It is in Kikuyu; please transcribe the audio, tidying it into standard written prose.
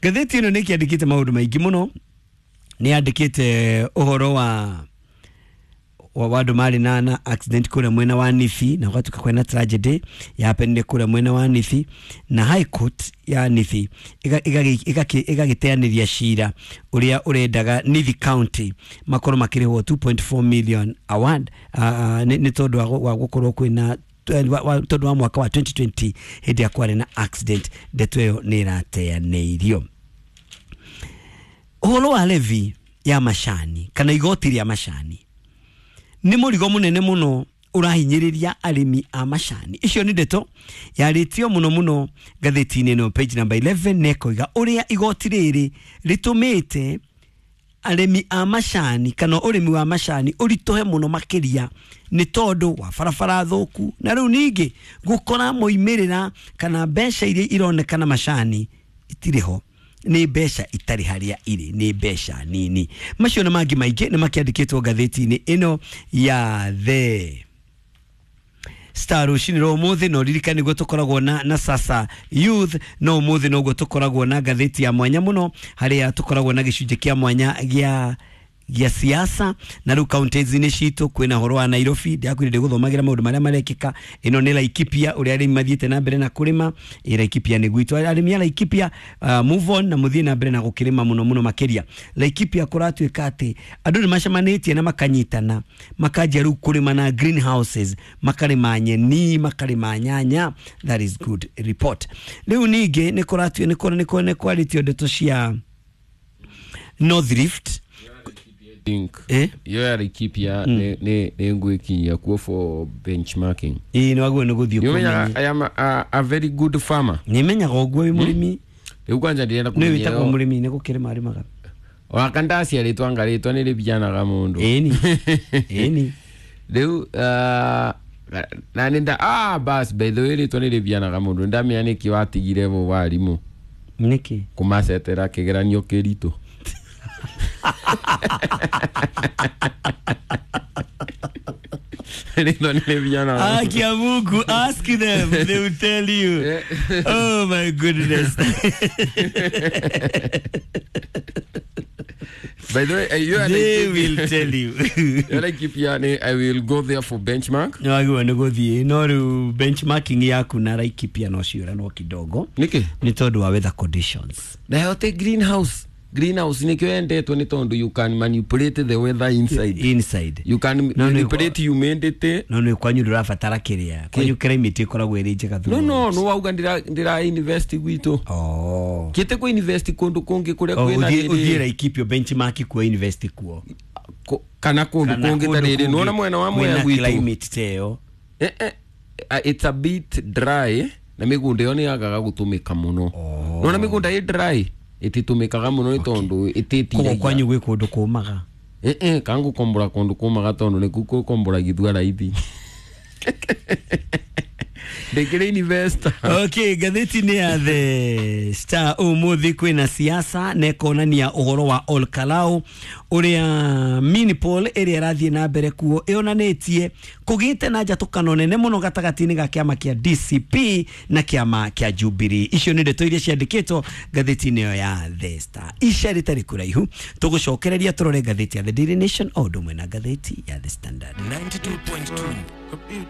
Ngathĩti ĩno nĩ ĩkĩandĩkĩte maũndũ maingĩ mũno. Nĩ yandĩkĩte ũhoro wa andũ marĩ na accident kũrĩa mwena wa Nithi, na gũgatuĩka kwĩna tragedy yapenire kũrĩa mwena wa Nithi, na High Court ya Nithi ĩgagĩteanĩria cira ũrĩa ũrendaga Nithi County makorwo makĩrĩhwo 2.4 million award, nĩ tondũ wa gũkorwo kwĩna tondũ wa mwaka wa 2020 hĩndĩ ya kwarĩ na accident. Ndeto ĩyo nĩ ĩrateanĩirio. Ũhoro wa levy ya macani kana igoti rĩa macani nĩ mũrigo mũnene mũno ũrahinyĩrĩria arĩmi a macani. Icio nĩ ndeto yarĩtio mũno mũno ngathĩti-inĩ ĩno page number 11, na ĩkoiga ũrĩa igoti rĩrĩ rĩtũmĩte arĩmi a macani kana ũrĩmi wa macani ũritũhe mũno makĩria nĩ tondũ wa barabara thũku, na rĩu ningĩ gũkora moimĩrĩra kana mbeca iria ironekana macani itirĩ ho, nĩ mbeca itarĩ harĩa irĩ, nĩ mbeca nini. Macio na mangĩ maingĩ nĩ makĩandĩkĩtwo ngathĩti-inĩ ĩno ya The Star rũcinĩ rwa ũmũthĩ. No ririkane nĩguo tũkoragwo na Sasa Youth, no ũmũthĩ noguo tũkoragwo na ngathĩti ya mwanya mũno harĩa tũkoragwo na gĩcunjĩ kĩa mwanya gĩa siasa. Na rĩu counties-inĩ citũ kwĩna ũhoro wa Nairobi, ndiakwĩrire ndĩgũthomagĩra maũndũ marĩa marekĩka. Ĩno nĩ Laikipia, ũrĩa arĩmi mathiĩte na mbere na kũrĩma. Ĩ Laikipia nĩ gwitũ, arĩmi a Laikipia, move on na mũthiĩ na mbere na gũkĩrĩma mũno mũno makĩria. Laikipia kũratuĩka atĩ andũ nĩ macemanĩtie na makanyitana makanjia rĩu kũrĩma na greenhouses, makarĩma nyeni, makarĩma nyanya. That is good report. Rĩu ningĩ nĩ kũratuĩ nĩ kwarĩtio ndeto cia North Rift. Think Eh? iyo ya Laikipia nĩ ngwĩkinyia kuo for benchmarking. Ĩĩ, nĩ wagĩrĩirwo nĩ gũthiĩ Nĩũmenyaga kũmenya. I am a very good farmer. Nĩ menyaga ũguo wĩ mũrĩmi. Rĩu kwanja ndĩrenda Nĩ kũmenya wĩtagwo ĩyo- mũrĩmi nĩ gũkĩrĩma arĩmaga. Waka ndaciarĩtwo anga rĩtwa nĩ rĩbianaga mũndũ. Ĩni, ĩni. Rĩu na nĩ nda bas, by the way, rĩtwa nĩ rĩbianaga mũndũ. Nĩndamenya nĩkĩ watigire bo warimũ. Nĩkĩ? Kũmacetera kĩgeranio kĩritũ. Rĩtwa nĩ rĩbianaga. Haki ya Mungu, ask them, they will tell you. Oh my goodness. By the way, you are They like, will tell you. you Laikipia nĩ I will go there for benchmark. Nĩ wagĩrĩirwo nĩ gũthiĩ, no rĩu benchmarking yaku na Laikipia no ciũranwo kidogo Nĩkĩ? nĩ tondũ wa weather conditions. Nayo te greenhouse. Greenhouse nĩkĩo yendetwo nĩ tondũ you can manipulate the weather inside. Inside. You can No, no, manipulate humidity. No nĩ kwanyu ndũrabatara kĩrĩa kwanyu climate ĩkoragwo ĩrĩ njega. No, no, no wauga ndĩra invest gwitũ. Oh. Kĩte kũ invest kũndũ kũngĩ kũrĩa Oh, kwĩna ũthiĩ rĩrĩ- Laikipia benchmark kuo, invest kuo. Kana kũndũ Kana kũngĩ ta kũndũ rĩrĩ kũngĩ nĩwona mwena wa Mwea kwĩna gwitũ. climate ta ĩyo. It's a bit dry na mĩgũnda ĩyo nĩ yagaga gũtũmĩka mũno. Oh. Nĩwona mĩgũnda ĩ dry ĩtitũmĩkaga mũno nĩ tondũ Koguo ĩtĩtiragia. kwanyu gwĩ kũndũ kũmaga. Kangũkombora kũndũ kũmaga tondũ nĩkuo kũkomboragithua raithi. Ndĩkĩrĩ investor. Okay, ngathĩti-inĩ ya The Star ũmũthĩ kwĩna siasa na ĩkonania ũhoro wa Olkalau ũrĩa Minipol ĩrĩa ĩrathiĩ na mbere kuo ĩonanĩtie kũgĩte na njatũkano nene mũno gatagatĩ-inĩ ga kĩama kĩa DCP na kĩama kĩa Jubilee. Icio nĩ ndeto iria ciandĩkĩtwo ngathĩti-inĩ ĩyo ya The Star. Ica rĩtarĩ kũraihu tũgũcokereria tũrore ngathĩti ya The Daily Nation o ũndũ ũmwe na ngathĩti ya The Standard. 92.2.